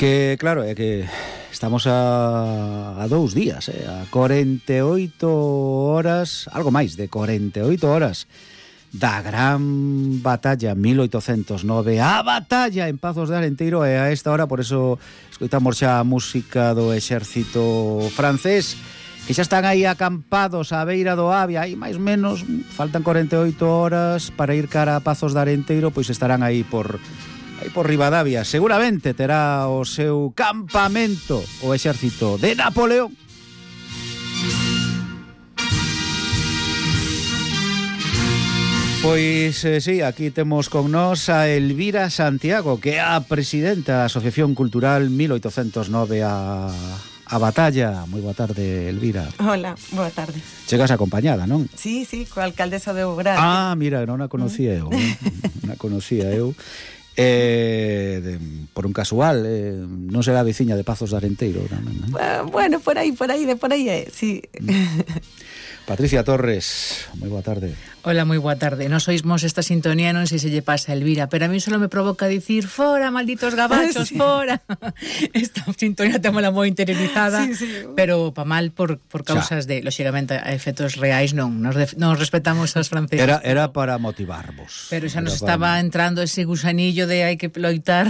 Que, claro, é que estamos a 2 días, a 48 horas, algo máis de 48 horas da gran batalla 1809, a batalla en Pazos de Arenteiro, e a esta hora, por eso escoitamos xa a música do exército francés, que xa están aí acampados á beira do Avia, aí máis ou menos, faltan 48 horas para ir cara a Pazos de Arenteiro, pois estarán aí por Ribadavia. Seguramente terá o seu campamento o exército de Napoleón. Pois, sí, aquí temos con nós a Elvira Santiago, que é a presidenta da Asociación Cultural 1809 a Batalla. Moi boa tarde, Elvira. Hola, boa tarde. Chegas acompañada, non? Sí, coa alcaldesa de Ougrande. Ah, mira, non a conocía eu. Non a conocía eu. Por un casual, non será veciña de Pazos de Arenteiro tamén, non? Bueno, por aí sí. Patricia Torres, moi boa tarde. Hola, moi boa tarde. Nos oímos esta sintonía, non sei se lle pasa a Elvira, pero a mí solo me provoca dicir fora, malditos gabachos, sí. Fora. Esta sintonía témola moi interiorizada, sí. Pero pa mal por causas de, lógicamente, a efectos reais non respetamos as francesas. Era para motivarvos. Pero xa nos estaba entrando ese gusanillo de hai que loitar.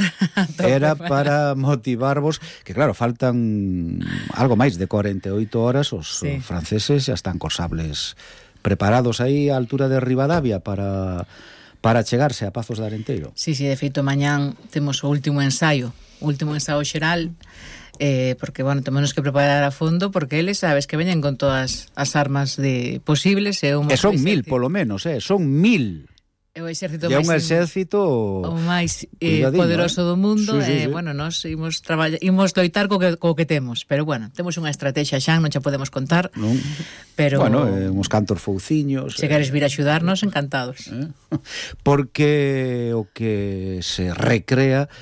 Era para motivarvos, que claro, faltan algo máis de 48 horas, os franceses xa están cos sables preparados aí á altura de Ribadavia para chegarse a Pazos de Arenteiro. Sí, de feito, mañán temos o último ensaio xeral, porque, bueno, temos que preparar a fondo, porque eles, sabes, que veñen con todas as armas posibles. E son 1000, polo menos, son 1000. É o exército máis, un exército o máis poderoso do mundo. Sí. Bueno, nós imos loitar co que temos, pero bueno, temos unha estrategia xa, non xa podemos contar, non. Pero bueno, uns cantos fouciños. Se queres vir a axudarnos, encantados. Porque o que se recrea,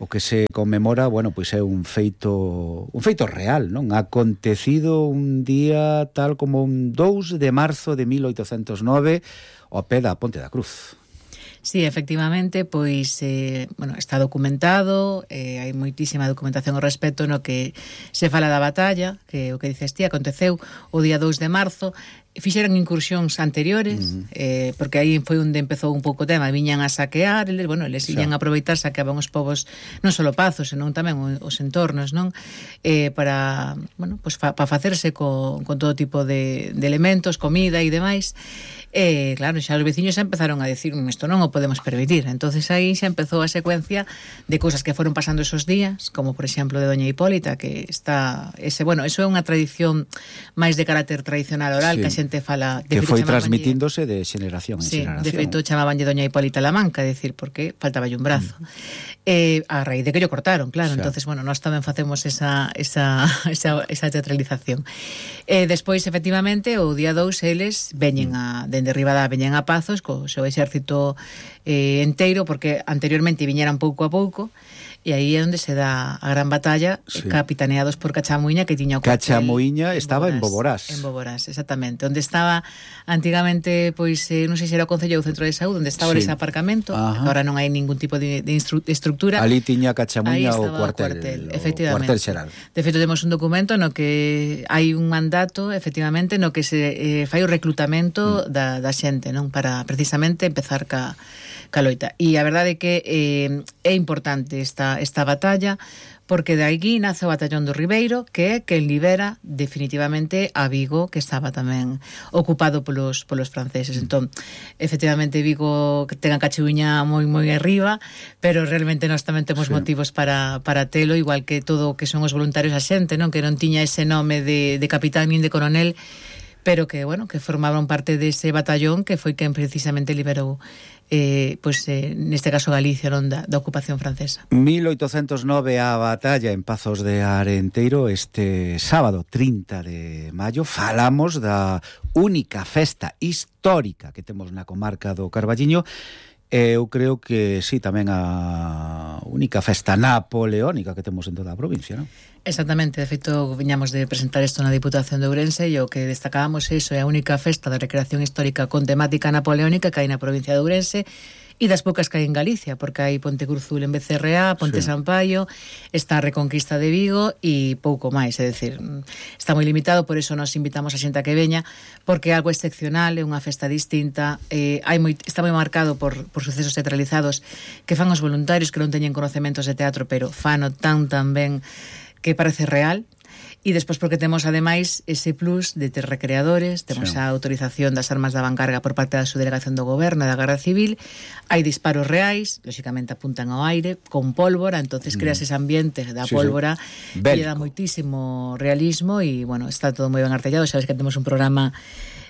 o que se conmemora, bueno, pois é un feito real, non? Acontecido un día tal como un 2 de marzo de 1809 ao pé da Ponte da Cruz. Sí, efectivamente, pois, está documentado, hai moitísima documentación ao respecto no que se fala da batalla, que o que dices ti, aconteceu o día 2 de marzo, fixeron incursións anteriores, porque aí foi onde empezou un pouco o tema, viñan a saquear, eles iban a aproveitar, saqueaban os povos, non só Pazos, senón tamén os entornos, non? Para facerse con todo tipo de elementos, comida e demais. Claro, xa os veciños xa empezaron a decir isto non o podemos permitir, entonces aí xa empezou a secuencia de cousas que foron pasando esos días, como por exemplo de Doña Hipólita, que está eso é unha tradición máis de carácter tradicional oral, que a xente fala, que foi transmitíndose de xeneración en xeneración. De feito chamabanlle Doña Hipólita la Manca, decir, porque faltaballe un brazo. A raíz de que lo cortaron, claro, entonces, bueno, nós tamén facemos esa teatralización. Despois, efectivamente, o día 2 eles veñen dende Ribadavia veñen a Pazos co seu exército enteiro, porque anteriormente viñeran pouco a pouco, e aí é onde se dá a gran batalla, capitaneados por Cachamuiña, que tiña o cuartel. Cachamuiña estaba en Boborás. En Boborás, exactamente. Onde estaba antigamente, pois, non sei se era o Concello ou o Centro de Saúde, onde estaba ese aparcamento, que agora non hai ningún tipo de estructura. Ali tiña Cachamuiña o cuartel, efectivamente. O cuartel xeral. De feito, temos un documento no que hai un mandato, efectivamente, no que se fai o reclutamento da xente, non? Para precisamente empezar ca loita. E a verdade é que é importante esta batalla, porque de aquí nace o Batallón do Ribeiro, que é quen libera definitivamente a Vigo, que estaba tamén ocupado polos franceses. Entón, efectivamente, Vigo ten a Cachiuña moi arriba, pero realmente nós tamén temos motivos para telo, igual que todo o que son os voluntarios a xente, non? Que non tiña ese nome de capitán nin de coronel, pero que, bueno, que formaban parte dese batallón que foi quen precisamente liberou neste caso Galicia, non, da ocupación francesa. 1809 a batalla en Pazos de Arenteiro. Este sábado 30 de maio falamos da única festa histórica que temos na comarca do Carballiño. Eu creo que sí, tamén a única festa napoleónica que temos en toda a provincia, non? Exactamente, de feito viñamos de presentar isto na Diputación de Ourense, e o que destacábamos é a única festa de recreación histórica con temática napoleónica que hai na provincia de Ourense, e das poucas que hai en Galicia, porque hai Ponte Cruzul en Becerreá, Ponte Sampaio, está a Reconquista de Vigo e pouco máis, é dicir, está moi limitado, por iso nos invitamos a xente a que veña, porque é algo excepcional, é unha festa distinta, está moi marcado por sucesos teatralizados que fan os voluntarios que non teñen conecementos de teatro, pero fano tan ben que parece real. E despois porque temos ademais ese plus de ter recreadores, temos a autorización das armas da vancarga por parte da subdelegación do goberno e da Garda Civil, hai disparos reais, lóxicamente apuntan ao aire con pólvora, entonces creas ese ambiente da pólvora que lle dá moitísimo realismo e, bueno, está todo moi ben artellado. Sabes que temos un programa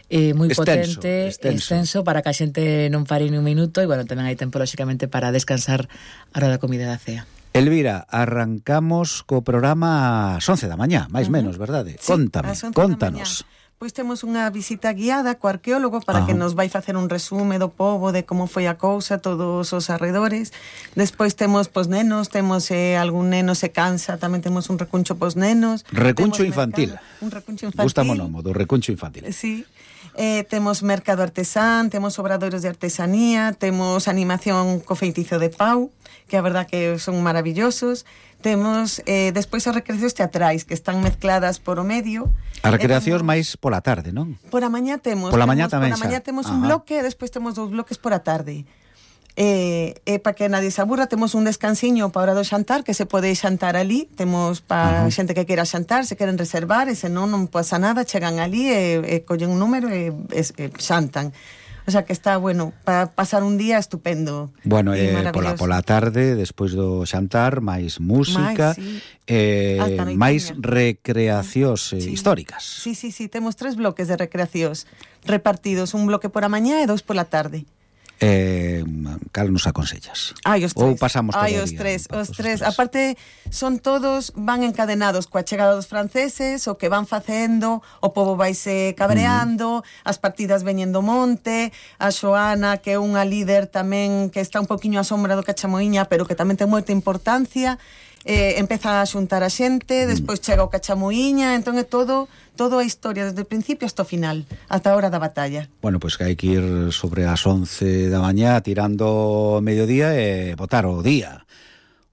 moi potente, extenso para que a xente non pare ni un minuto e, bueno, tamén hai tempo lóxicamente para descansar a hora da comida da cea. Elvira, arrancamos co programa ás 11 da mañá, máis menos, verdade? Sí, Contanos. Pois temos unha visita guiada co arqueólogo para que nos vai facer un resume do pobo, de como foi a cousa, todos os arredores. Despois temos pos nenos, temos algún neno se cansa, tamén temos un recuncho pos nenos. Recuncho infantil. Un recuncho infantil. Gusta o nome do recuncho infantil. Sí. Temos mercado artesán, temos obradoiros de artesanía, temos animación co feitizo de Pau, que a verdad que son maravillosos. Temos despois as recreacións teatrais que están mezcladas por o medio. As recreacións máis pola tarde, non? Por a mañá temos. Pola mañá tamén Por a mañá temos un bloque e despois temos 2 bloques por a tarde. Para que nadie se aburra, temos un descansiño para a hora do xantar, que se pode xantar ali. Temos para xente que queira xantar, se queren reservar, e se non pasa nada, chegan ali e collen un número e xantan. O sea que está, bueno, para pasar un día estupendo. Bueno, pola tarde, despois do xantar, máis música, máis recreacións históricas. Sí, temos 3 bloques de recreacións repartidos, un bloque por a mañá e 2 por la tarde. Cal nos aconsellas? Os 3. Ou pasamos todo o día? Os tres. Aparte, son todos, van encadenados coa chegada dos franceses, o que van facendo, o pobo vaise cabreando, as partidas veñen do monte, a Xoana, que é unha líder tamén que está un poquinho á sombra do Cachamoiña, pero que tamén ten moita importancia, empeza a xuntar a xente, despois chega o Cachamoiña, entón é todo a historia desde o principio hasta o final, ata a hora da batalla. Bueno, pois que hai que ir sobre as 11 da mañá tirando mediodía e botar o día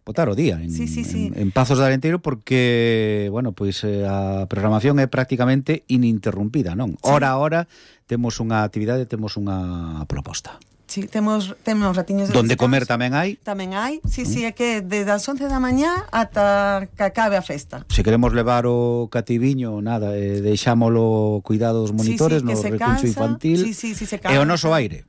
en Pazos de Arenteiro, porque, bueno, pois a programación é prácticamente ininterrumpida, non? Hora a hora temos unha actividade, temos unha proposta. Sí, temos ratiños de donde descanso. Comer tamén hai? Tamén hai, sí, é que desde as 11 da mañá ata que acabe a festa. Se queremos levar o cativiño, nada, deixámolo cuidado dos monitores no recuncho infantil se cansa. E o noso aire.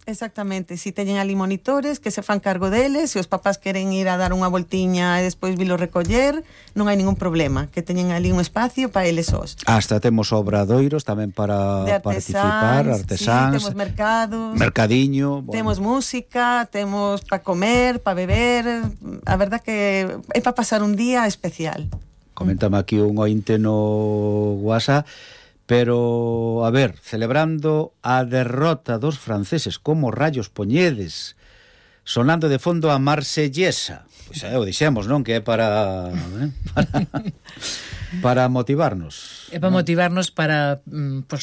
Exactamente, si teñen ali monitores que se fan cargo deles, se os papás queren ir a dar unha voltiña e despois vilo recoller, non hai ningún problema, que teñen ali un espacio para eles sós. Hasta temos obradoiros tamén para participar, artesáns, temos mercados, mercadiño, bueno. Temos música, temos para comer, para beber, a verdad que é para pasar un día especial. Coméntame aquí un ointe no WhatsApp. Pero, a ver, celebrando a derrota dos franceses, como rayos poñedes, sonando de fondo a Marsellesa. Pois o dixemos, non? Que é para motivarnos. É para motivarnos para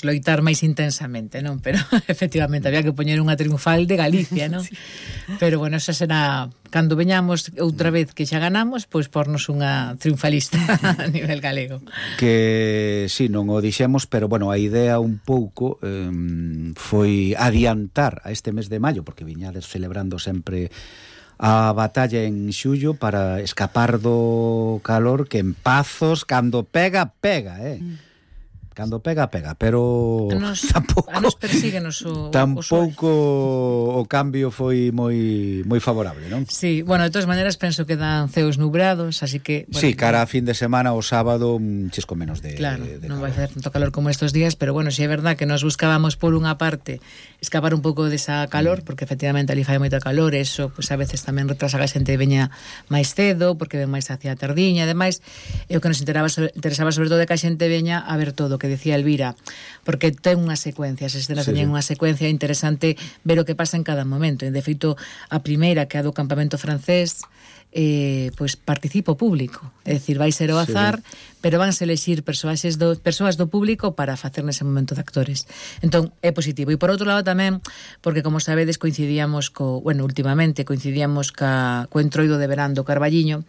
loitar máis intensamente, non? Pero, efectivamente, había que poñer unha triunfal de Galicia, non? Sí. Pero, bueno, esa será... Cando veñamos outra vez que xa ganamos, pois pornos unha triunfalista a nivel galego. Que, sí, non o dixemos, pero, bueno, a idea un pouco foi adiantar a este mes de maio, porque viñades celebrando sempre a batalla en xullo para escapar do calor que en Pazos, cando pega, Cando pega, pero tampouco persíguenos o cambio foi moi favorable, non? Sí, bueno, de todas maneiras penso que dan ceos nubrados, así que... Bueno, sí, cara a fin de semana o sábado un chisco menos de claro, de non vai ser tanto calor como estos días, pero bueno, si é verdad que nos buscábamos por unha parte escapar un pouco desa calor, porque efectivamente ali fai moita calor, eso pues a veces tamén retrasa que a xente veña máis cedo, porque ven máis hacia a tardiña, ademais, é o que nos interesaba sobre todo de que a xente veña a ver todo, que decía Elvira, porque ten unha secuencia, as escenas teñen unha secuencia interesante ver o que pasa en cada momento. De feito, a primeira, que é a do campamento francés, pois participa o público, é dicir, vai ser o azar, pero vanse elexir persoas do público para facer nese momento de actores. Entón, é positivo. E por outro lado tamén, porque como sabedes, últimamente coincidíamos co entroido de verán do Carballiño,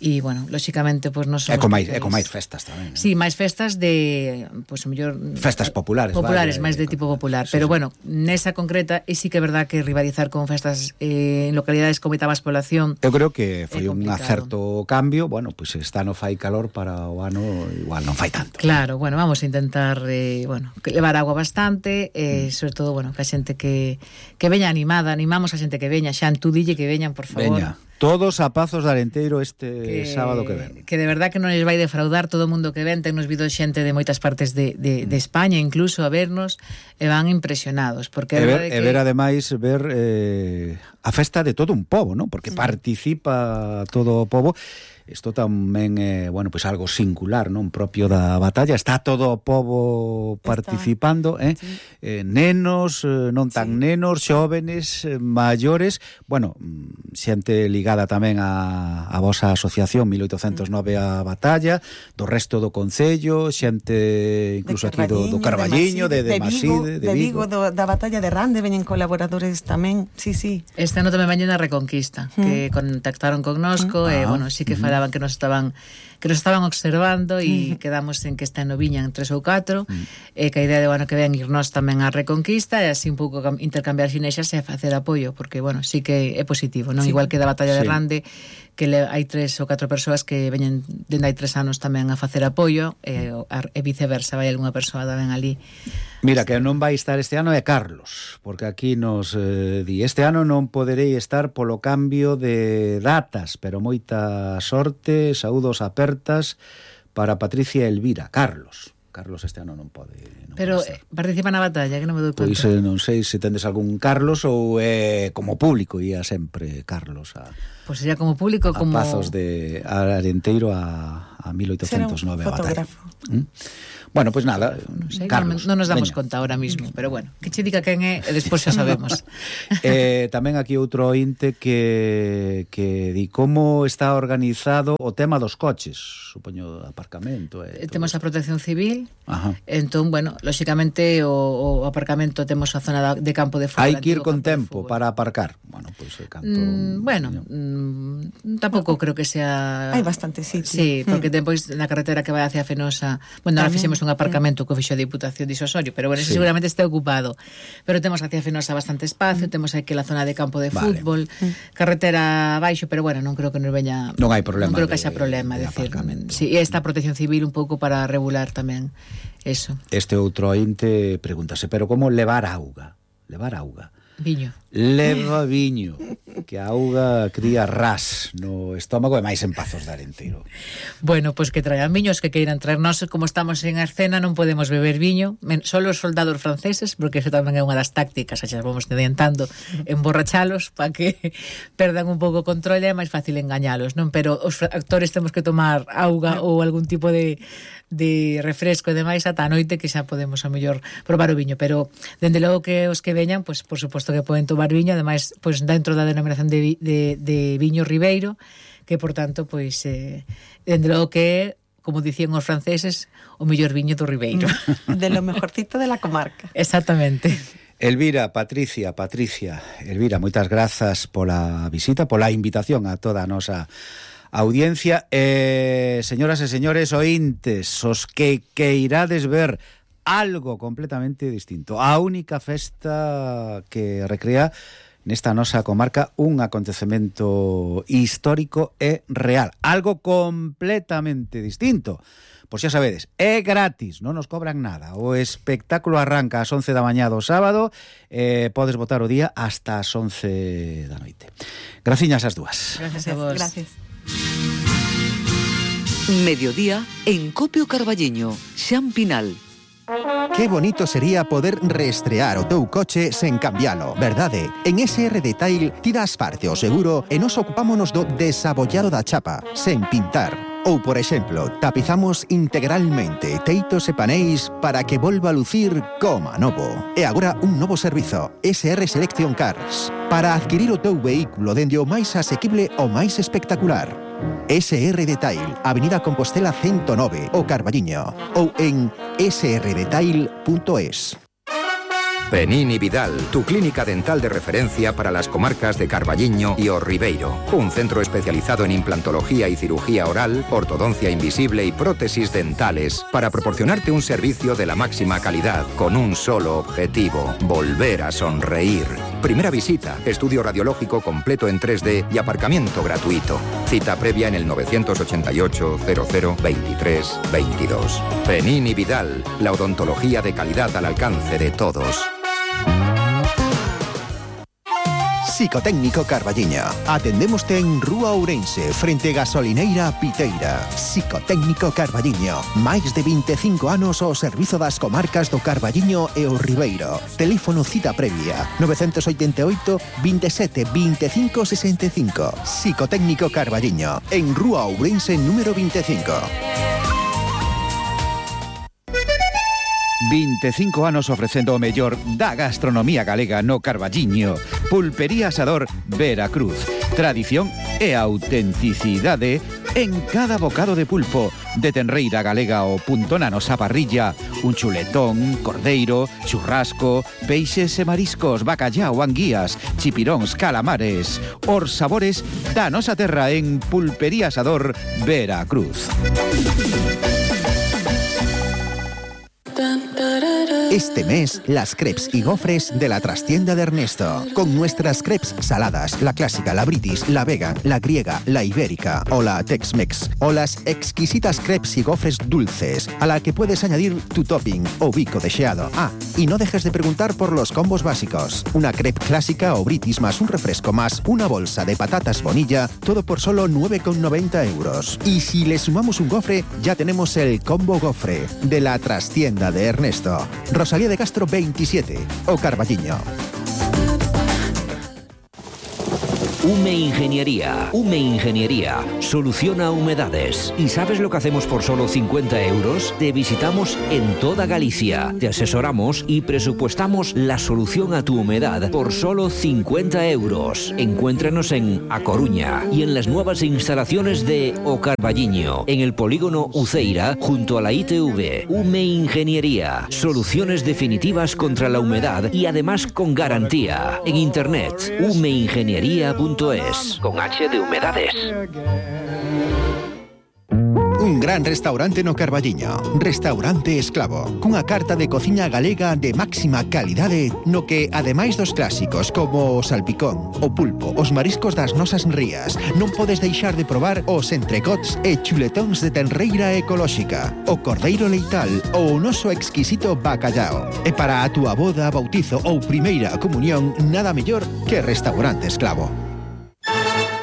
e, bueno, lóxicamente, pois non somos... É con máis festas tamén. Sí, máis festas de, pois, o mellor... Festas populares. Máis de tipo popular. Pero, bueno, nesa concreta, e sí que é verdad que rivalizar con festas en localidades con moita máis población... Eu creo que foi un acerto cambio. Bueno, pois esta no fai calor, para o ano igual non fai tanto. Claro, bueno, vamos a intentar levar agua bastante, sobre todo, bueno, que a xente que veña animada, animamos a xente que veña, Xan, tú dille que veñan, por favor. Veña. Todos a Pazos de Arenteiro sábado que ven. Que de verdad que non les vai defraudar todo o mundo que ven. Tennos vido xente de moitas partes de España incluso a vernos, e van impresionados, porque ver ademais a festa de todo un pobo, non? Porque participa todo o pobo. Isto tamén é, pois algo singular, non? Propio da batalla. Está todo o pobo participando, nenos, non tan nenos, xóvenes, maiores, xente ligada tamén a vosa asociación 1809 a batalla, do resto do concello, xente incluso aquí do Carballiño, de Maside, de Vigo, da batalla de Rande, veñen colaboradores tamén, sí. Este ano tamén veñen a Reconquista, que contactaron connosco, sí que falaban que nos estaban observando, e quedamos en que está en Viñan 3 ou 4, e que a idea de que ven irnos tamén a Reconquista, e así un pouco intercambiar xinexas e facer apoio, porque, sí que é positivo, non? Igual que da batalla de Rande, que hai 3 ou 4 persoas que veñen dende hai 3 anos tamén a facer apoio, e viceversa, vai algunha persoa tamén ali. Mira, que non vai estar este ano é Carlos, porque aquí nos di, este ano non poderei estar polo cambio de datas, pero moita sorte, saúdos apertas para Patricia e Elvira. Carlos este ano non pode. Pero participa na batalla, que non me dou conta. Pois non sei se tendes algún Carlos ou como público, ia sempre Carlos Pois sería como público, como Pazos de Arenteiro a 1809 a batalla. Bueno, pues nada, non sei, Carlos. Non nos damos conta ahora mismo, pero bueno, que che diga quen é e despois xa sabemos. Tamén aquí outro ointe que di como está organizado o tema dos coches, supoño aparcamento. Temos a Protección Civil. Ajá. Entón, lóxicamente o aparcamento, temos a zona de campo de fútbol. Hai que ir con tempo para aparcar. Bueno, pois canto. Tampouco creo que sea. Hai bastante sitio. Sí, porque depois na carretera que vai hacia Fenosa, ahora fixemos un aparcamento que fixo a Diputación de Isosorio, pero ese seguramente está ocupado. Pero temos hacia Fenosa bastante espacio, temos aquí la zona de campo de fútbol, carretera abaixo, pero non creo que nos veña. Non hai problema. Non creo que haxa problema, decir. Sí, e esta Protección Civil un pouco para regular tamén eso. Este outro ointe pregúntase, pero como levar auga? Viño. Leva viño, que a auga cría ras no estómago e máis en Pazos de Arenteiro. Bueno, pois que traian viños, que queiran traernos, como estamos en escena, non podemos beber viño, só os soldados franceses, porque eso tamén é unha das tácticas, xa vamos adiantando, emborrachalos para que perdan un pouco o control, é máis fácil engañalos, non? Pero os actores temos que tomar auga ou algún tipo de refresco e demais ata a noite, que xa podemos a mellor probar o viño, pero dende logo que os que veñan, pois por suposto que poden tomar viño, ademais, pois dentro da denominación de viño ribeiro, que por tanto, pois dende logo que é, como dicían os franceses, o mellor viño do ribeiro. De lo mejorcito de la comarca. Exactamente. Elvira, Patricia, Elvira, moitas grazas pola visita, pola invitación a toda a nosa audiencia. Señoras e señores ointes, os que irades ver algo completamente distinto, a única festa que recrea nesta nosa comarca un acontecemento histórico e real, algo completamente distinto. Pois xa sabedes, é gratis, non nos cobran nada. O espectáculo arranca ás 11 da mañá do sábado, podes botar o día hasta as 11 da noite. Graciñas as dúas. Gracias a vos. Gracias. Mediodía en Copio Carballiño, Xan Pinal. Qué bonito sería poder reestrear o teu coche sen cambialo, verdade? En SR Detail ti das parte o seguro e nos ocupámonos do desabollado da chapa, sen pintar. Ou, por exemplo, tapizamos integralmente teitos e paneis para que volva a lucir como novo. E agora un novo servizo, SR Selection Cars, para adquirir o teu vehículo dende o máis asequible ao máis espectacular. SR Detail, Avenida Compostela 109, o Carballiño, ou en srdetail.es. Penín y Vidal, tu clínica dental de referencia para las comarcas de Carballiño y O Ribeiro. Un centro especializado en implantología y cirugía oral, ortodoncia invisible y prótesis dentales para proporcionarte un servicio de la máxima calidad con un solo objetivo: volver a sonreír. Primera visita, estudio radiológico completo en 3D y aparcamiento gratuito. Cita previa en el 988 00 23 22. Penín y Vidal, la odontología de calidad al alcance de todos. Psicotécnico Carballiño. Atendémoste en Rúa Ourense, frente Gasolineira Piteira. Psicotécnico Carballiño. Máis de 25 anos ao servizo das comarcas do Carballiño e o Ribeiro. Teléfono cita previa 988 27 25 65. Psicotécnico Carballiño. En Rúa Ourense número 25. 25 anos ofrecendo o mellor da gastronomía galega no Carballiño. Pulpería Asador Veracruz. Tradición e autenticidade en cada bocado de pulpo. De tenreira galega ao punto na nosa parrilla. Un chuletón, cordeiro, churrasco, peixes e mariscos, bacallao, anguías, chipiróns, calamares. Os sabores da nosa terra en Pulpería Asador Veracruz. Este mes, las crepes y gofres de la trastienda de Ernesto. Con nuestras crepes saladas, la clásica, la british, la vegan, la griega, la ibérica o la Tex-Mex. O las exquisitas crepes y gofres dulces, a la que puedes añadir tu topping o bico deseado. Ah, y no dejes de preguntar por los combos básicos. Una crepe clásica o british más un refresco más una bolsa de patatas bonilla, todo por solo 9,90 euros. Y si le sumamos un gofre, ya tenemos el combo gofre de la trastienda de Ernesto. Rosalía de Castro 27, o Carballiño. Hume Ingeniería. Hume Ingeniería soluciona humedades. ¿Y sabes lo que hacemos por solo 50 euros? Te visitamos en toda Galicia, te asesoramos y presupuestamos la solución a tu humedad por solo 50 euros. Encuéntranos en A Coruña y en las nuevas instalaciones de O Carballiño, en el polígono Uceira, junto a la ITV. Hume Ingeniería. Soluciones definitivas contra la humedad y además con garantía. En internet, humeingeniería.es. Con H de humedades. Un gran restaurante no Carballiño. Restaurante Esclavo. Cunha carta de cociña galega de máxima calidade, no que, ademais dos clásicos como o salpicón, o pulpo, os mariscos das nosas rías, non podes deixar de probar os entrecots e chuletóns de tenreira ecolóxica, o cordeiro leital ou o noso exquisito bacallao. E para a túa boda, bautizo ou primeira comunión, nada mellor que Restaurante Esclavo.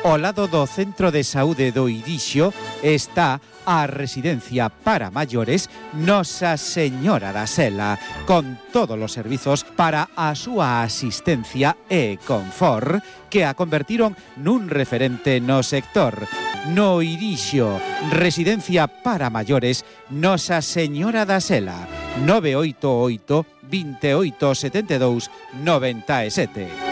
Ao lado do Centro de Saúde do Irixo está a residencia para maiores Nosa Señora da Sela, con todos os servizos para a súa asistencia e confort que a convertiron nun referente no sector. No Irixo, residencia para maiores Nosa Señora da Sela, 988 28 72 97.